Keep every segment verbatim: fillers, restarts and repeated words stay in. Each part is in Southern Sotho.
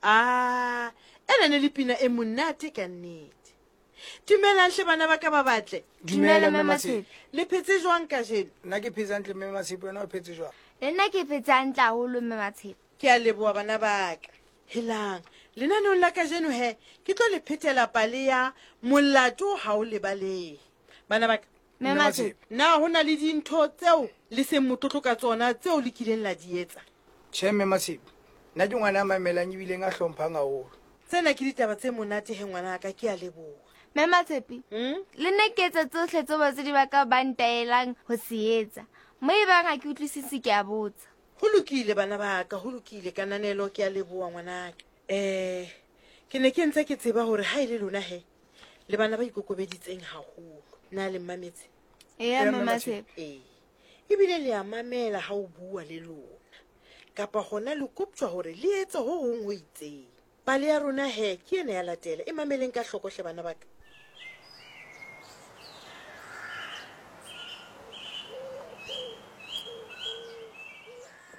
A ena ne le pina e monate ka nnete. Dumelang hle bana ba ka ba batle. Dumela Mme Matshepe. Le phetse jwang kajeno? Nna ke phetse hantle Mme Matshepe, wena o phetse jwang? Le nna ke phetse hantle haholo Mme Matshepe. Ke a leboha bana ba ka. Helang, lenaneong la kajeno he, ke tlo le phethela pale ya molato ha o lebalehe. Bana ba ka, Mme Matshepe, na ho na le dintho tseo le seng motlotlo ka tsona tseo le kileng la di etsa? Tjhe Mme Matshepe, nna ke ngwana a mamelang ebileng a hlomphang haholo. Tsena ke ditaba tse monate he ngwanaka, ke a leboha. Mme Matshepe, Hmm? le nna ke etsa tsohle tseo batswadi ba ka ba ntaelang ho se etsa. Mo ebang ha ke utlwisise ke a botsa. Ho lokile bana ba ka, ho lokile kananelo, ke a leboha ngwanaka. Eh, ke ne ke ntse ke tseba hore ha e le lona he, le bana ba ikokobeditseng haholo. Na le mmametse? Eya Eya, Mme Mme Matshepe. Ee. Ebile le a mamela ha o bua le lona. Kapa hona le koptjwa hore le etse ho hong ho itseng. Pale ya rona he ke ena ya latela. E mameleng ka hloko hle bana ba ka.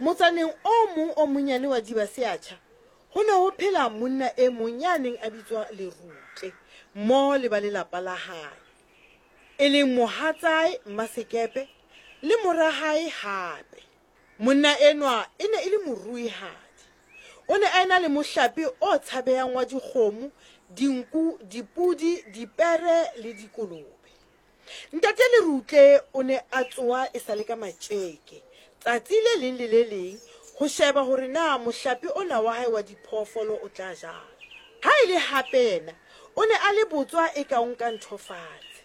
Motsaneng o mong o monyane wa Dibaseatjha, ho ne ho phela monna e mong ya neng a bitswa Lerutle mmoho le ba lelapa la hae, e leng mohatsae Mmasekepe le mora hae hape. Monna enwa e ne e le moruihadi. O ne a ena le mohlape o tshabehang wa dikgomo, dinku, dipodi, dipere le dikolobe. Ntate Lerutle o ne a tsoha e sa le ka matjeke tsatsi le leng le le leng ho sheba hore na mohlape ona wa hae wa diphoofolo o tla jang. Ha e le hape yena o ne a le botswa e ka o nka ntho fatshe.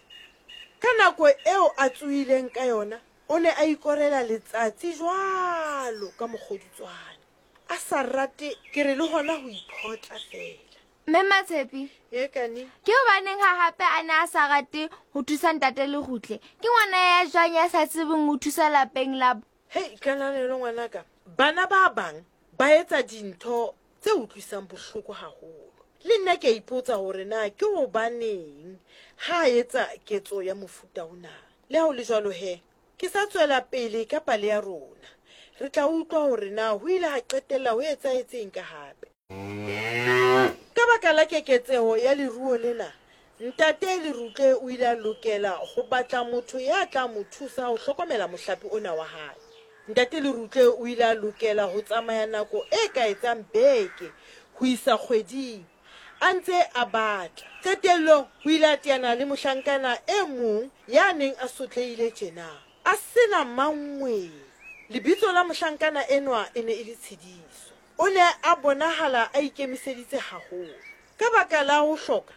Ka nako eo a tsohileng ka yona, o ne a ikorela letsatsi jwalo ka mokgodutswane. A sa rate ke re le hona ho iphotla feela. Mme Matshepe, E kane? ke hobaneng ha hape a ne a sa rate ho thusa ntate Lerutle? Ke ngwana ya jwang ya sa tsebeng ho thusa lapeng la bo? Hei, kananelo ngwanaka, bana ba bang ba etsa dintho tse utlwisang bohloko haholo. Le nna ke a ipotsa hore na ke hobaneng ha a etsa ketso ya mofuta ona. Le ha ho le jwalo he, ke sa tswela pele ka pale ya rona. Re tla utlwa hore na ho ile ha qetella ho etsahetseng ka hape. Ka baka la keketseho ya leruo lena, ntate Lerutle o ile a lokela ho batla motho ya tla mo thusa ho hlokomela mohlape ona wa hae. Ntate Lerutle o ile a lokela ho tsamaya nako e ka etsang beke ho isa kgweding a ntse a batla. Qetellong o ile a teana le mohlankana e mong ya neng a sotlehile tjena, a sena mangweng. Lebitso la mohlankana enwa e ne e le Tshidiso. O ne a bonahala a ikemiseditse haholo. Ka baka la ho hloka,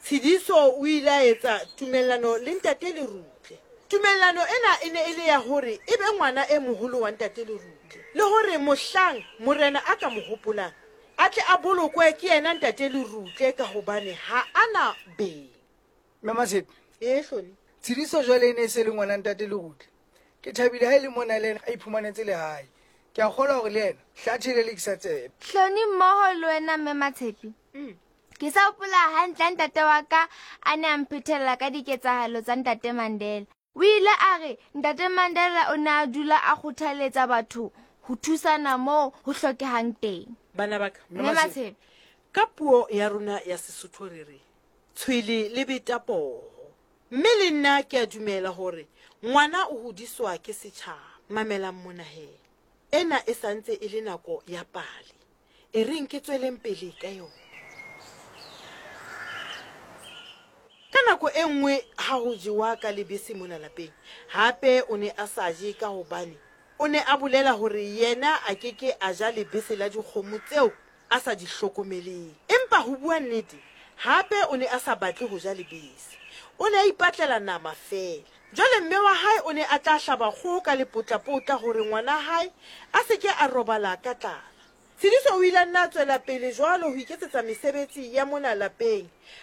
Tshidiso o ile a etsa tumellano le ntate Lerutle. Tumellano ena e ne e le ya hore e be ngwana e moholo wa ntate Lerutle, le hore mohlang morena a ka mo hopolang, a tle a bolokwe ke yena ntate Lerutle ka hobane ha a na beng. Mme Matshepe, E Hloni. Tshidiso jwale e ne e se le ngwana ntate Lerutle. Ke thabile ha e le mona le yena a iphumanetse lehae. Ke a kgolwa hore le yena hlathe le lekisa tsebe. Hloni mmoho le wena Mme Matshepe. Mm. Ke sa hopola hantle ha ntate wa ka a ne a mphethela ka diketsahalo tsa ntate Mandela. O ile a re ntate Mandela o ne a dula a kgothaletsa batho ho thusana moo ho hlokehang teng. Bana ba ka, Mme Matshepe, ka puo ya rona ya Sesotho re re tshwele le beta poho. Mme le nna ke a dumela hore ngwana o hodiswa ke setjhaba. Mamelang mona he. Ena e santse e le nako ya pale. E reng ke tsweleng pele ka yona. Ka nako e nngwe ha ho jewa ka lebese mona lapeng, hape o ne a sa je ka hobane o ne a bolela hore yena a ke ke a ja lebese la dikgomo tseo a sa di hlokomeleng. Empa ho bua nnete, hape o ne a sa batle ho ja lebese. O ne a ipatlela nama feela. Jwale mme wa hae o ne a tla hlaba kgoho ka lepotlapotla hore ngwana hae a se ke a robala ka tlala. Tshidiso o ile a nna a tswela pele jwalo ho iketsetsa mesebetsi ya mona lapeng.